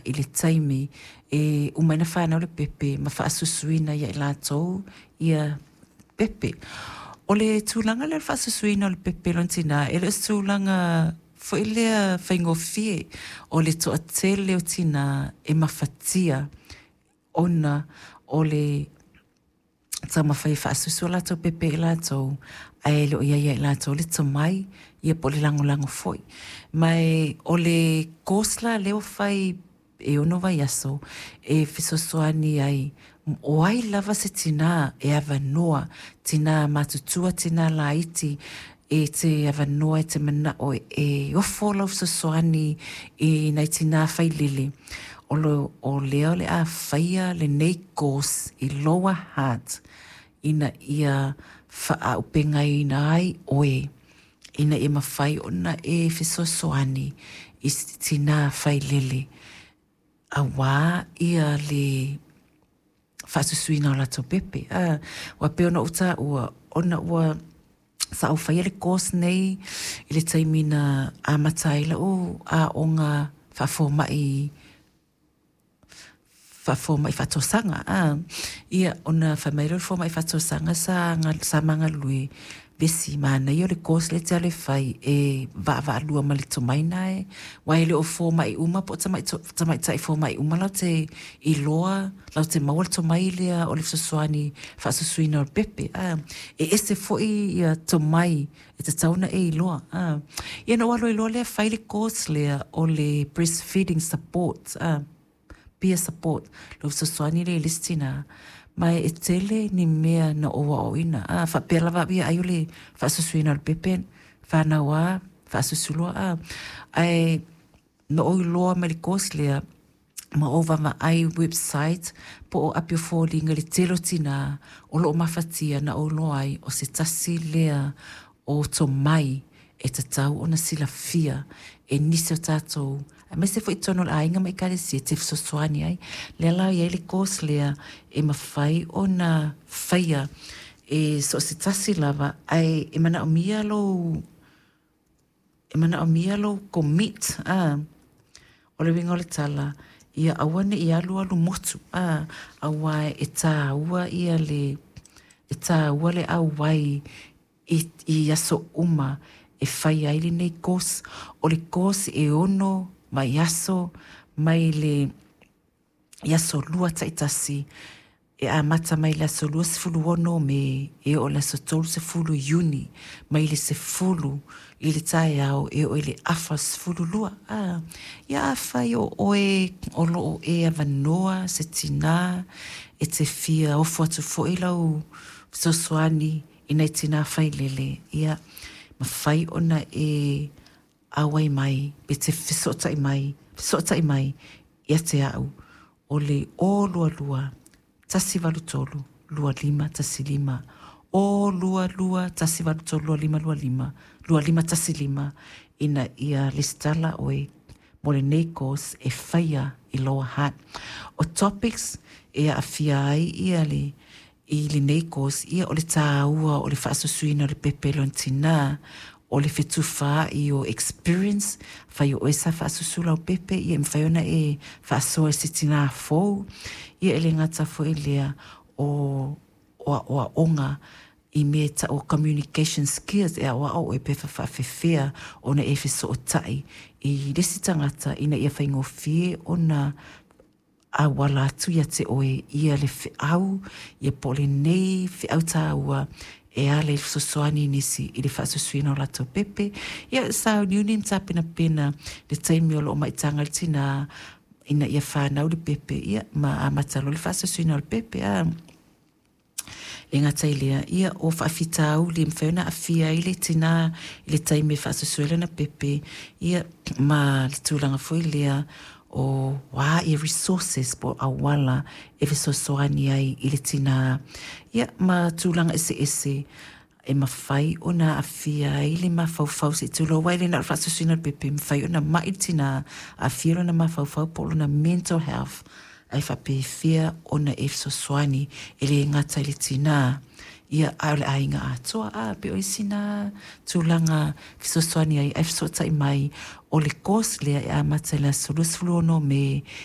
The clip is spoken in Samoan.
i le taimi e uma ai ona fanau le pepe ma faasusuina ia i latou ia pepe. O le tulaga lea o le faasusuina o le pepe lona tina, e le o se tulaga foi lea faigofie. O le toatele o tina e mafatia ona o le taumafai e faasusu o latou pepe i latou, ae le o i ai ia i latou le tomai, ia po o le lagolago foi. Ma o le course la lea ua fai e 6 vaiaso e fesoasoani ai, o ai lava se tinā e avanoa, tinā matutua, tinā laiti, e te avanoa e te manao e ofo lau fesoasoani i nai tinā failele. O lea o le a faia lenei course i Lower Hutt ina ia faaaupegaina ai oe ina ia mafai ona e fesoasoani i tinā failele auā ia le faasusuina o latou pepe. Ua pei ona ou taua, ona ua sa ou faia le course nei i le taimi na amata ai lau aoga faafomai faatausaga a. Ia, ona fai mai lea o le fomai faatausaga sa magalulue vesi manaia o le course lea te alu e fai e vaavaalua ma le tomai na e, aua e le o fomai uma po o tamaitai fomai uma latou te iloa, latou te maua le tomai lea o le fesoasoani faasusuina o le pepe a. E ese foi ia tomai e tatau ona e iloa a. Ia, na ou alu ai loa lea fai le course lea o le breastfeeding support a, peer support, lo fesoasoani le i le isi tinā. Ma e tele ni mea na ou aoaoina a, faapea lava au ia ai o le faasusuina o le pepe, fanau a faasusu loa a. Ae na ou iloa mai le course lea ma ou vaavaai website po o api o foliga i le tele o tinā o lo o mafatia, na ou iloa ai o se tasi lea o tomai e tatau ona silafia e nisi o tatou, aemaise foi totonu o le aiga ma ekalesia te fesoasoani ai. Lea la i ai le course lea e mafai ona faia e so o se tasi lava, ae e manaomia lou commit a. O le uiga o le tala, ia aua ne i alu alu motu a, aua e tāua ia le e tāua le auai i aso uma e fai ai lenei course. O le course e 6 vaiaso mai le i aso lua taitasi, e amata mai le aso 26 Me e oo le aso 30 Iuni, mai le 10 i le taeao e oo i le 12:30 a. Ia, afai o oe o lo o e avanoa, se tinā e te fia ofo atu foi lau fesoasoani i nai tinā failele, ia mafai ona e auai mai pe te fesootai mai ia te au o le 022 183 2515, 022 183 2525 2515, ina ia lesitala oe mo lenei course e faia i Lower Hutt. O topics e aafia ai ia le i lenei course, ia o le tāua o le faasusuina o le pepe lona tinā, o le fetufaai o experience, fai o oe sa faasusu lau pepe, ia e mafai ona e faasoa i se tinā fou. Ia, e le gata foi lea o aoaoga i mea tau communication skills, e aoao oe pe faafefea ona e fesootai i le isi tagata ina ia faigofie ona auala atu ia te oe ia le feau, ia po o lenei feau tāua e ala i fesoasoani nisi i le faasusuina o latou pepe. Ia, sauniuni ma tapenapena le taimi o lo o maitaga le tinā ina ia fanau le pepe, ia ma amata loa le faasusuina o le pepe a. E gata i lea, ia o faafitauli e mafai ona aafia ai le tinā i le taimi e faasusu ai lana pepe, ia ma le tulaga foi lea o a ia resources po o auala e fesoasoani ai i le tinā, ia ma tulaga eseese e mafai ona aafia ai le mafaufau se i tulou ai le na o le faasusuina o le pepe, mafai ona mai le tinā, aafia lona mafaufau po o lona mental health, ae faapefea ona e fesoasoani e le gata i le tinā, ia a o le aiga atoa a. Pe o isi na tulaga fesoasoani ai, ae fesootai mai. O le course lea e amata i le aso 26 Me.